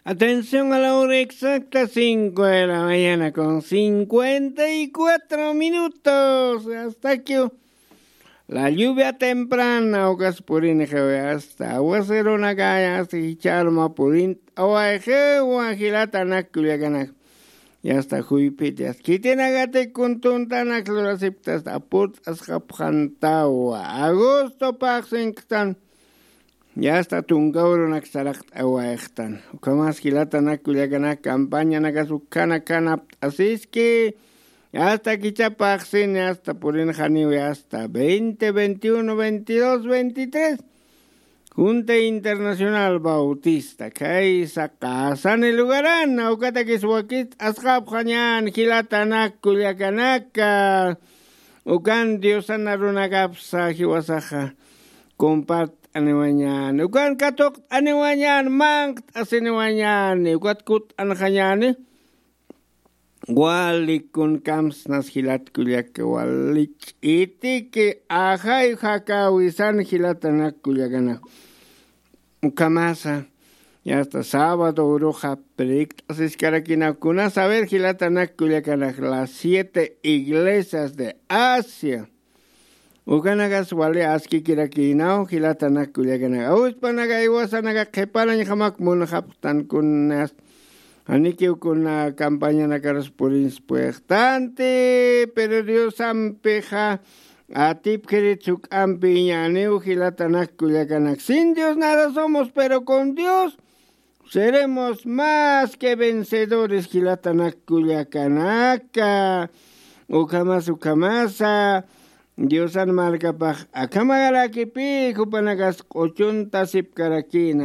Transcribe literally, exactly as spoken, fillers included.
Atención a la hora exacta, cinco de la mañana con cincuenta y cuatro minutos. Hasta aquí la lluvia temprana, ukas purinxawi, hasta aguaceronakaya, hasta jicharma purin, awayxewa jilatanak kullakanak. Yasta juypiti, yasta khitinakati kuntuntanak lurasipta, hasta apurt'asxapxantawa. Agosto paxsinktan. Yasta tunka urunak saraqt'awayxtan. Ukhamas jilatanak kullakanak campañanakas ukhana kanapt'asiski. Yasta kichapaxsin, yasta purinxaniwi, yasta veinte, veintiuno, veintidós, veintitrés. Junta Internacional Bautista, kay saqasani lugaran, ukatakis wakist'asxapxañan jilatanak kullakanaka. Ukan Diosana runakapsa jiwasaxa compart'aniwañan, ukan katuqt'aniwañan, manqt'asiniwañan, ukat kutt'anxañani. Wali kunkamsnas jilat kullaka, wali ch'itiki ajay jakawisan jilatanak kullakanak. Ukhamasa, yasta sábado uruxa predikt'asiskarakina, kuna saber jilatanak kullakanak, las siete iglesias de Asia. Ukanakas wali askikirakïnaw jilatanak kullakanaka. Awispanaka iwasanaka qhiparañjamak munxapxtan kunas. Janikiw kuna campañanakarus purinspuyxtanti, pero Diosampixa atipkhirit juk'ampi iñäniw jilatanak kullakanak. Sin Dios nada somos, pero con Dios seremos más que vencedores, jilatanak kullakanaka. Ukhamas, ukhamasa, Diosan markapax akhamagarakipï, jupanakas q'uchuntasipkarakïna.